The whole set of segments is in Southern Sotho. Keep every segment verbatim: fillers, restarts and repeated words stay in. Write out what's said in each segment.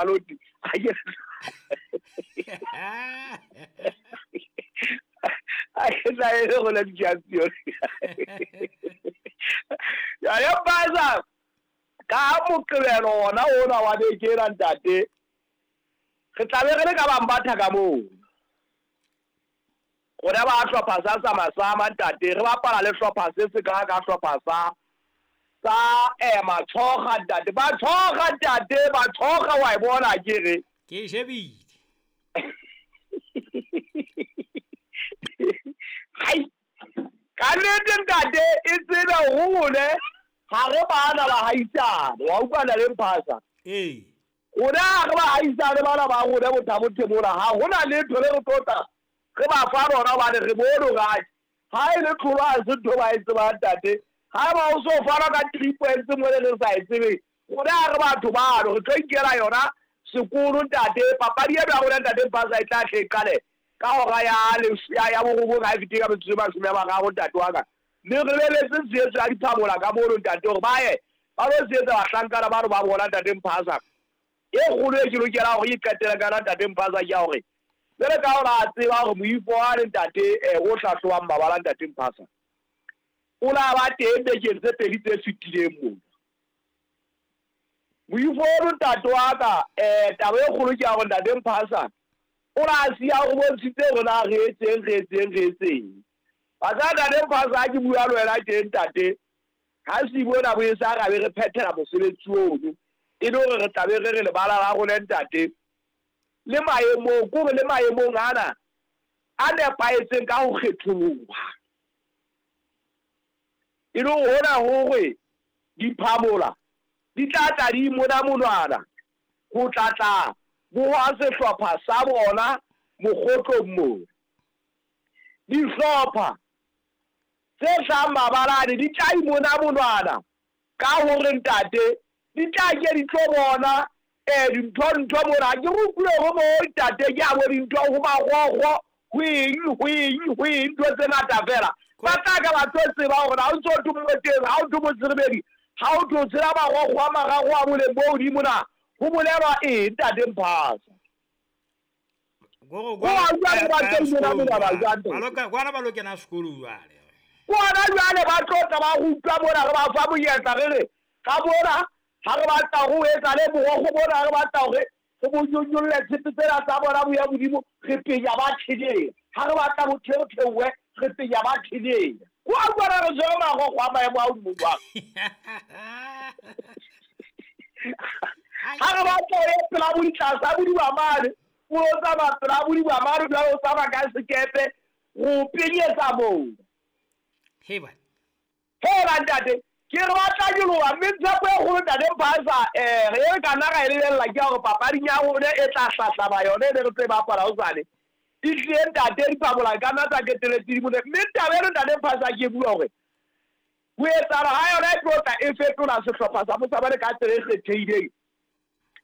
Maloti a ke a ke tla e go la di-champion ya ya Mphasa ka Moqebelo ona ona wa beke ena ntate re tla be re le ka Bambatha ka moo rona ba hlopha sa Samasama ntate re bapala le hlopha se se ka ka hlopha sa sa eh Matshoga ntate ba tshoga ntate ba tshoga wa e bona ke re ke shebile hai ka nnete ntate e tsebe hore ha re bana ba haisane wa utlwana le Mphasa ee rona ha re ba haisane bana ba rona bothabothe mona ha hona letho le re tlotla re ba fa rona hobane re bone hore ha e le tlholo ha se ntho ba e tsebang ntate ha ba o so fana ka three points mo le re sa e tsebeng rona ha re batho bano re tlo inkela yona sekolo ntate papadi eno ya rona ntate Mphasa e tla hle e qale ka hora ya ya ya borobong ha e fetile ka metsotso e mashome a mararo ntate wa ka mme re lebeletse tshehetso ya diphamola ka mono ntate hore ba ye ba lo tshehetsa bahlankana bano ba bona ntate Mphasa e kgolo e ke lokela hore ke qetele ka yona ntate Mphasa ke ya hore jwale ka hore a tseba hore moifo wane ntate o hlahlobang mabala ntate Mphasa o la ba teng bekeng tse pedi tse fetileng mona moifo ono ntate wa ka um taba e kgolo ke ya hore ntate Mphasa o la siya o bontshitse hore na re etseng re etseng re etseng ba ntate Mphasa ha ke bua le wena teng ntate ha Sibona bo e sa ra be re phethela mosebetsi ono e le hore re tla be re re lebala la rona ntate le maemong kore le maemong ana a nepahetseng ka ho kgetholoha e le hona hore diphamola di tla tla di mona monwana ho tla tla boha sehlopha sa bona mokgotlong moo dihlopha tse hlahang mabalane di tla imona monwana ka hore ntate di tla ke di tlo bona eh dintho ntho mona ke re utlwile ho mo ntate ke a bo dintho ho magogo ho eng ho eng ho eng ntho tse ngata fela ba tla ka ba tlo tseba hore ha o ntso o teng ha o tlo motsrebedi ha o tlo tshela magogo a mararo a boleng bo hodimo na ho bolelwa eng ntate Mphasa go go a utlwa ba tlo imona monwana jwang kwana ba lo kena sekolo jwale kwana jwale ba tlo tla ba rutwa mona re ba fa monyetla re re ka bona ha re batla ho etsa le borokgo bona ha re batla hore re bo nyonyolle tshepe tsena tsa bona bo ya modimo re penya ba theleng ha re batla bo theotheowe re penya ba theleng kwa utlwana re tshwere magogo a maemo a hodimo jwang ha re batla ho ya pela bo ditlasa bodiba mane o lo tsamaya pela bodiba mane jwale o tsamaya ka sekepe go penyetsa moo heba heba ntate ke re batla nyoloha mme tshepo e kgolo ntate Mphasa um re e ka nna ra e lebella ke ya hore papading ya rona e tla hlahlama yone e ne re tlo e bapala hosane e tlile ntate diphamola ka nna tsa keteletse di mone mme taba eno ntate Mphasa ke bua hore ho etsahala ha yona e tlo tla e fetola sehlopha sa Mosabane ka tsela e kgethehileng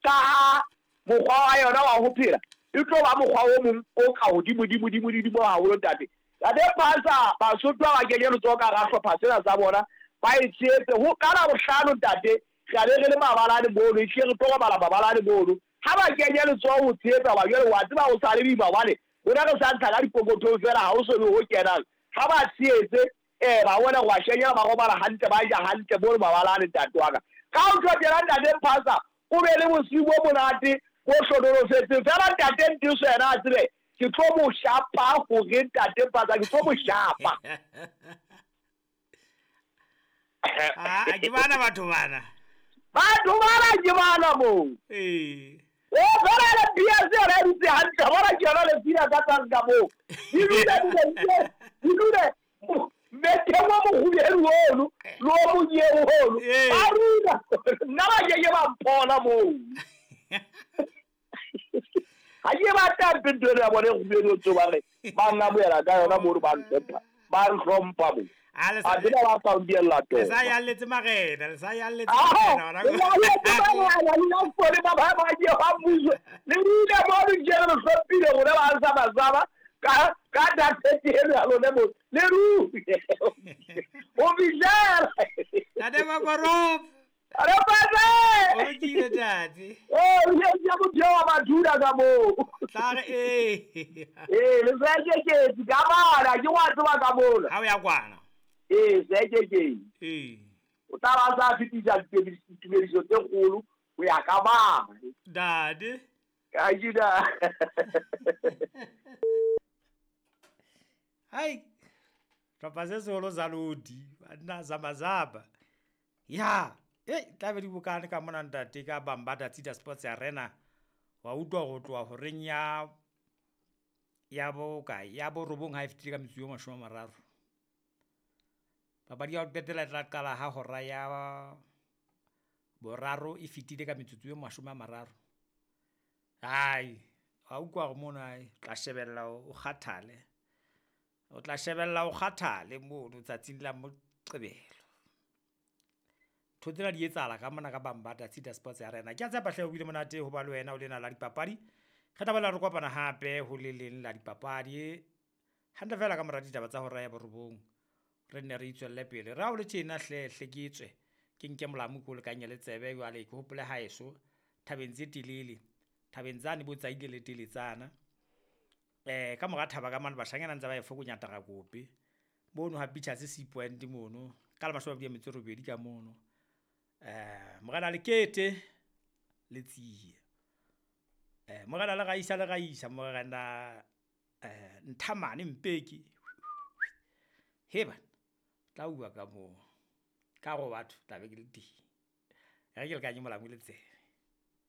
ka ha mokgwa wa yona wa ho phela e tlo ba mokgwa o mong o ka hodimo-dimo-dimo-dimo haholo ntate ntate Mphasa Basotho ba ba kenye letsoho ka hara hlopha sena sa bona ba e tshehetse ho ka Labohlano ntate re a be re le mabalane mono ehlile re tlo robala mabalane mono ha ba kenye letsoho ho tshehetsa hoba jwale wa tseba ho sa le boima hobane rona re sa ntsha ka dipokothong fela ha ho so be ho kenang ha ba tshehetse eh ba bona go shenyela ba robala hantle ba ja hantle mono mabalane ntate wa ka ka ho tlo tjena ntate Mphasa o be le bosiu bo monate bo hlonolofetseng fela ntate Ntiso yena a tsebe ke tlo mo shapa hore ntate Mphasa ke tlo mo shapa ah ke bana batho bana batho bana ke bana moo ee o fela le B S yona e dutse hantle bona ke yona le pina ka tlase ka moo di dule di dule metheng o mokgubedu ono le o monyeu ono ba rula nna ba keke ba mpona moo ha ke batla mpe ntho eno ya bone e kgubedu o tso ba re ba nnamohela ka yona mono ba ntlhompha ba ntlhompha mo a tseba ba sa ndiella to le sa yalletse marena le sa yalletse marena le ba ba ba ke ba mmuso le ile mo re ke re hlomphile rona ba sa basaba ka ka data eno ya lone mo le ru o bijela Tate Makorop Re pase. O lokile tate. Eh, o ile ya motho wa madula ka moo. Tla re eh. Eh, le sekeketsi ka bana ke wa tseba ka mola. Ha o ya kwana. Eh, sekeketsi. Eh. O tla ba sa fetisa ditumediso tse kgolo ho ya ka bana. Dade. Ka jida. Hai. Tlhopha se seholo sa lodi, banna zamazaba. Ya, eh tla be di bokane ka mona ntate ka Bambata Tsita Sports Arena. Wa utlwa go tloha horeng ya ya bokae ya borobong ha e fetile ka metsotso e mashome a mararo. Papadi ya ho qetela e tla qala ha hora ya boraro e fetile ka metsotso e mashome a mararo. Hai, wa utlwa hore mono hai tla shebella o kgathale. O tla shebella o kgathale mono tsatsing la Moqebelo. Ntho tsena di etsahala ka mona ka Bambata Tsita Sports Arena. Ke a tshepa hle ho bile monate ho ba le wena o lena la dipapadi. Re tla boela re kopana hape ho le leng la dipapadi. Hantle feela ka mora ditaba tsa hora ya borobong. Re nne re itswelle pele. Re ha o le tjena hle hle ke tswe. Ke nke molamu ke o lekanye le tsebe jwale ke hopole haeso thabeng tse telele. Thabeng tsane bo tsaile le teletsana. Eh ka mora thaba ka mane bashanyana ntse ba e fokonya tarakope. Mono ha Pictures C Point mono ka le mashome a mabedi a metso e robedi ka mono. Eh morena Lekete le Tsie. Eh morena le Raisa le Raisa morena eh Nthamane Mpeki. He bana tla bua ka moo. Ka go batho tla be ke le teng. Re ke lekanye molamu le tsebe.